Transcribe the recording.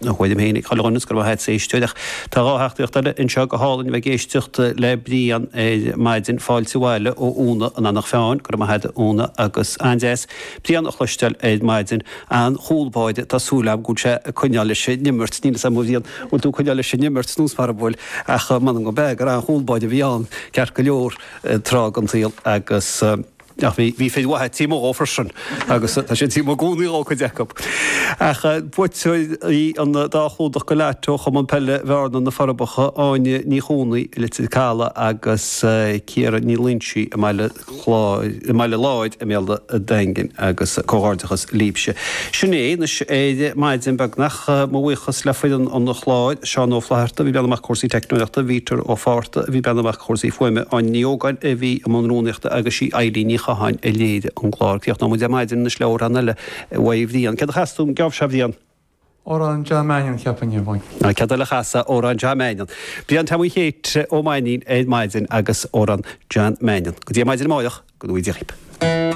A thuairim féin ag chuile dhuine is go raibh maith a't as éisteacht ach tá 2 theachtaireacht eile anseo go hálainn a bheith ag éisteacht le Brian ar maidin. Fáilte abhaile ó Úna in Eanach Mheáin. Go raibh maith a't a Úna agus an-deas Brian a chloisteáil ar maidin. An-chúl báire, tá súil agam go bhfuil sé ag coinneáil leis an imirt. Níl fhios agam a Bhriain bhfuil tú ag coinneáil leis an imirt nós mar a bhfuil ach m'anam go b'ea gur an-chúl báire a bhí ann ceart go leor tráth den tsaol agus Ach bhí, bhí fir mhaithe taobh amuigh dhó freisin agus tá siad taobh amuigh i gcónaí dhó, cuid acu. Ach buaiteoirí an dá chlúdach go leat ó Chumann Peile Bhearna, Na Forbacha, Áine Ní Chónaí i Leitir Caladh agus Ciara Ní Loingsigh i mBaile Chláir, i mBaile Láir i mBéal an Daingin agus comhghairdeachas libhse. Sin é anois ar maidin beagnach. Mo bhuíochas le foireann an chláir, Seán Ó Flatharta a bhí ag breathnú amach cúrsaí teicneolaíochta, Peter Ó Fátharta a bhí ag breathnú amach cúrsaí fuaime, Áine Ní Ógáin a bhí i mbun rúnaíochta agus sí Eilín Ní Chatháin a léirigh an clár. Críochnóidh muid ar maidin anois le amhrán eile uaidh Bhrian. Céard a chasfaidh tú an geábh seo, a Bhriain? Amhrán John Mannion, cheapfainn, a Mhaidhc. Ná céard eile a chasfá, amhrán John Mannion. Brian Tomaí Chéit Ó Mainnín ar maidin agus amhrán John Mannion. Go dtí ar maidin amáireach, go ngnóthaí Dia dhaoib.